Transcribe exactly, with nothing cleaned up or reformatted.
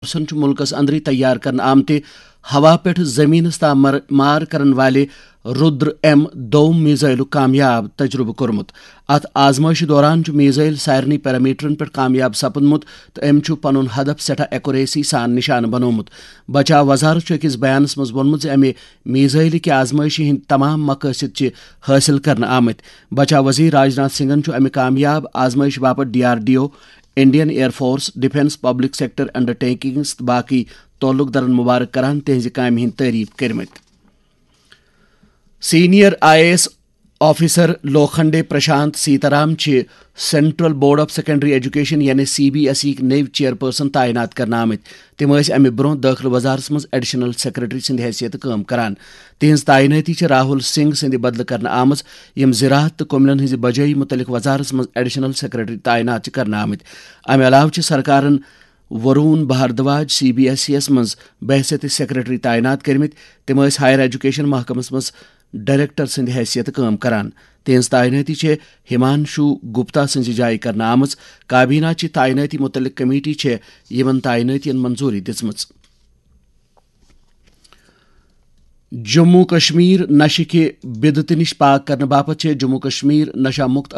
فورسن چھُ مُلکَس اندرٕے تیار کرنہٕ آمتہِ ہوا پٮ۪ٹھ زمینس تام مر-، مار کرن والہِ رُدر ایم دو میزائلُک کامیاب تجربہٕ کوٚرمُت۔ اتھ آزمائشہِ دوران چھُ میزائل سارنٕے پیرامیٹرن پٮ۪ٹھ کامیاب سپُدمُت تہٕ أمۍ چھُ پنُن ہدف سٮ۪ٹھاہ ایکوریسی سان نشانہٕ بنوومُت۔ بچاو وزارت چھُ أکِس بیانس منٛز ووٚنمُت زِ امہِ میزائلہِ کہِ آزمائشہِ ہٕنٛدۍ تمام مقٲصد چھِ حٲصِل کرنہٕ آمٕتۍ۔ بچاو وزیر راجناتھ سنگھن چھُ امہِ کامیاب آزمائشہِ باپتھ D R D O, Indian air force, defence, public sector undertakings تہٕ باقی تعلق دارن مبارک کران تہنٛزِ کامہِ ہٕنٛدۍ تعریف کٔرمٕتۍ۔ Senior I A S officer Lokhande Prashant Sitaram چھِ central board of secondary education یعنی سی بی ایس ای نٔوۍ چیئرپرسن تعینات کرنہٕ آمٕتۍ۔ تِم ٲسۍ امہِ برونٛہہ دٲخلہٕ وزارتس منٛز ایڈیشنل سیکرٹری سٕنٛدِ حیثیتہٕ کٲم کران۔ تِہنٛز تعینٲتی چھِ راہل سنگھ سٕنٛدِ بدلہٕ کرنہٕ آمٕژ، یِم زراعت تہٕ کٔملن ہٕنٛزِ بجٲیی مُتعلق وزارتس منٛز ایڈیشنل سیکرٹری تعینات چھِ کرنہٕ آمٕتۍ۔ امہِ علاوٕ چھِ سرکارن Varun Bhardwaj C B S E یس منٛز بحیثیت سیکرٹری تعینات کٔرمٕتۍ۔ تِم ٲسۍ ہائر ایجوکیشن محکمس منٛز ڈائریکٹر سٕنٛدِ حیثیتہٕ کٲم کران۔ تِہنٛز تعینٲتی چھےٚ ہمانشو گپتا سٕنٛزِ جایہِ کرنہٕ آمٕژ۔ کابینہ چہِ تعینٲتی مُتعلق کمیٹی چھےٚ یِمن تعینٲتین منظوٗری دِژمٕژ۔ جموں کشمیر نشہٕ کہِ بدعتہٕ نِش پاک کرنہٕ باپتھ چھےٚ جموں کشمیر نشہ مُکت